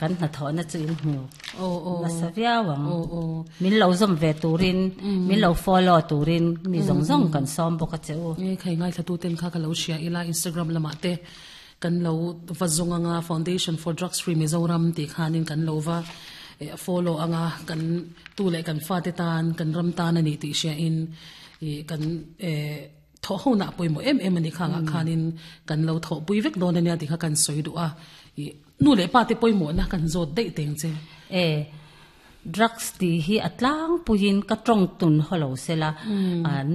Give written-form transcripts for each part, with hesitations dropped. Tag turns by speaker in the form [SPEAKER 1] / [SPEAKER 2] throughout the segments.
[SPEAKER 1] Kan hnathawhna chu in hmu nasa viau ang. Min lo zawm ve turin, min lo follow turin mi zawng zawng kan sawm bawk a che u.
[SPEAKER 2] Nge khai ngaithla tuten kha ka lo hria ila Instagram lamah te kan lo va zawng anga Foundation for Drugs Free Mizoram tih khanin kan lo va follow anga kan tu leh kan fate tan kan ram tan a ni tih hria in kan Thawh hona pawimawh em em a ni khangah khanin kan lo thawhpui vek dawn a nia tih kha kan sawi duh a, ih nu leh pa te pawimawhna kan zawt daih teng che.
[SPEAKER 1] E, drugs tih hi a tlangpuiin ka tawng tun haw lo sela,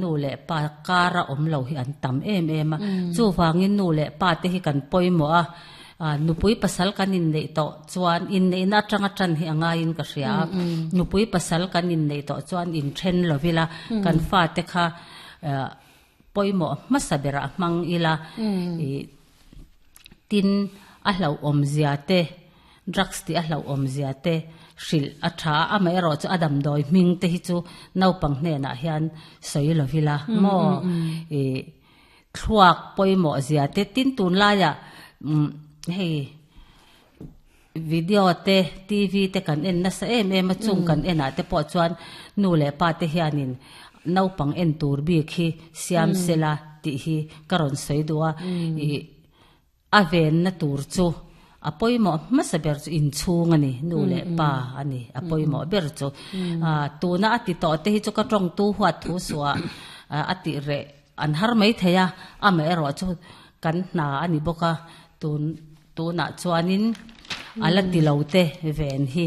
[SPEAKER 1] nu leh pa kara awm lo hi an tam em em a, chuvangin nu leh pa te hi kan pawimawh a, nupui pasal kan inneih tawh chuan inneihna atanga tan hi a ngaiin ka hria a, nupui pasal kan inneih tawh chuan inthen lovila kan fate kha pawimawh hmasa berah hmang ila ih tin a hlauhawm zia te drugs tih a hlauhawm zia te hrilh a tha a amaherawh chu a damdawi hming te hi chu naupang hnenah hian sawi lo ila maw ih thluak pawimawh zia te tin tunlaiah umm hei. Video te, TV te kan en nasa em em a, chung kan en ah te pawh chuan nu leh pa te hianin naupang en tur bik hi siam sela tih hi ka rawn sawi duh a, ih a venna tur chu a pawimawh hmasa ber chu inchhung a ni, nu leh pa a ni a pawimawh ber chu. Tuna a ti tawh te hi chu ka tawngtu huat thu suah a tih reh an har mai thei a, amaherawh chu kan hna a ni bawk a, tun. Tunah chuanin a la ti lo te ven hi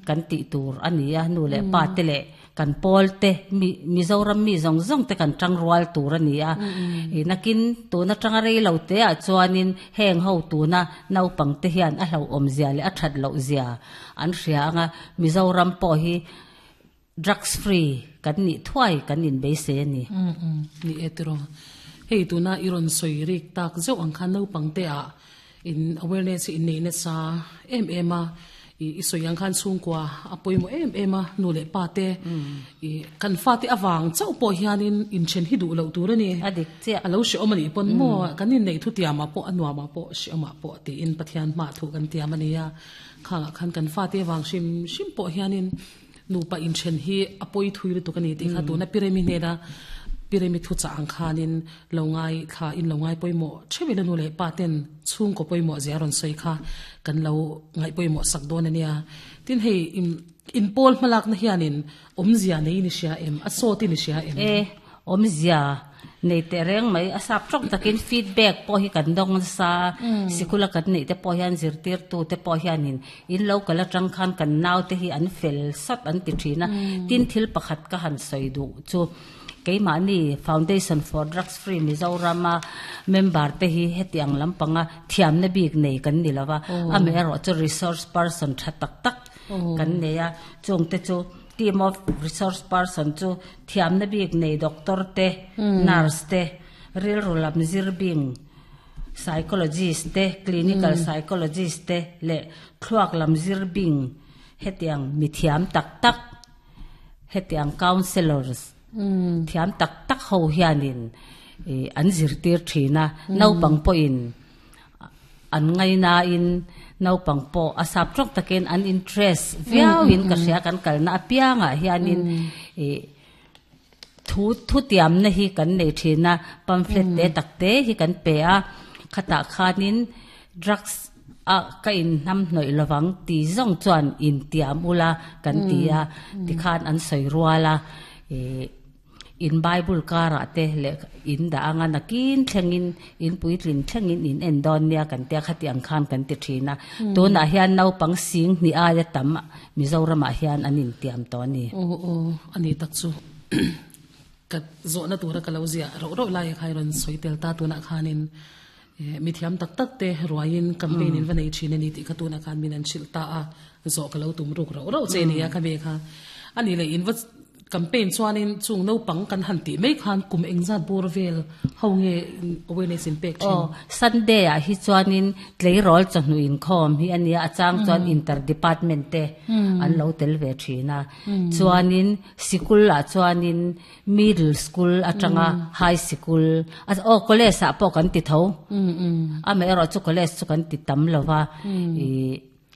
[SPEAKER 1] kan tih tur a ni a, nu leh pa te leh kan pawl te mi Mizoram mi zawng zawng te kan tang rual tur a ni a. Nakin tun atanga rei lo te ah chuanin heng ho tuna naupang te hian a hlauhawm zia leh a that loh zia an hria ang a, Mizoram pawh hi Drugs free kan nih thuai kan inbeisei a ni.
[SPEAKER 2] Ni e tiraw. Hei tuna i rawn sawi rik tak zeuh ang khan naupang te ah in awareness hi in nei nasa em em a, i sawi ang khan chhungkua a pawimawh em em a nu leh pa te i kan fate avang chauh pawh hianin inthen hi duh loh tur a ni.
[SPEAKER 1] A dik chiah.
[SPEAKER 2] A lo hrehawm a nih pawn maw kan inneih thu tiamah pawh a nuamah pawh hrehawmah pawh tiin Pathian hmaah thu kan tiam a nia. Khangah khan kan fate avang hrim hrim pawh hianin Nupa inthen hi a pawi thui lutuk a ni tih kha tuna Piremi hnena Piremi thuchah ang khanin lo ngai thla in lo ngai pawimawh theuh ila nu leh pa ten chhungkaw pawimawh zia rawn sawi kha kan lo ngaih pawimawh sak dawn a nia. Tin hei inpawl hmalakna hianin awmzia nei in i hria em? A sawt in i hria em?
[SPEAKER 1] E, awmzia Nei teh reng mai, a sap tawk takin feedback pawh hi kan dawng nasa a, sikul a kan neih te pawh hian zirtirtu te pawh hianin in lo kal atang khan kan naute hi an fel sat an ti thin a, tin thil pakhat ka han sawi duh chu keimahni Foundation for Drugs Free Mizoram a member te hi hetiang lampanga thiamna bik nei kan ni lova, amaherawhchu resource person tha tak tak kan nei a, chungte chu Team of resource person chu thiamna bik nei doctor te, nurse te, rilru lam zir bing psychologist te, clinical psychologist te leh thluak lam zir bing hetiang mi thiam tak tak hetiang counsellors thiam tak tak ho hianin an zirtir thin a, naupang pawhin An ngainain naupang pawh a sap tawk takin an interest viauin ka hria kan kalna apiangah hianin ih thu thutiamna hi kan nei thin a pamphlet te tak te hi kan pe a khatah khanin drugs a ka inhnam hnawih lovang ti zawng chuan intiam ula kan ti a tikhan an sawi rual a ih. In Bible karah te leh in dah anga nakin thlengin in puitlin thlengin in en dawn nia kan tia khati ang khan kan ti thin a. Tunah hian naupang sing hnih aia tam Mizoramah hian an intiam tawh a ni.
[SPEAKER 2] Aw aw a ni tak chu ka zawhna tura ka lo ziah rauh rauh lai kha i rawn sawi tel ta tunah khanin mi thiam tak tak te ruaiin campaign in va nei thin a ni tih kha tunah khan min an hrilh ta a zawh ka lo tum ruk rauh rauh che nia kha ve kha a ni leh in va Campaign chuanin chung naupang kan han tih mai khan kum engzat bawr vel ho nge awareness in pek thin?
[SPEAKER 1] Aw, Sunday ah hi chuanin tleirawl chawhnu inkhawm hi a nia, a chang chuan inter department te an lo tel ve thin a. Chuanin sikul ah chuanin middle school atanga high sikul, aw college ah pawh kan ti tho. Amaherawhchu college chu kan ti tam lo va, ih.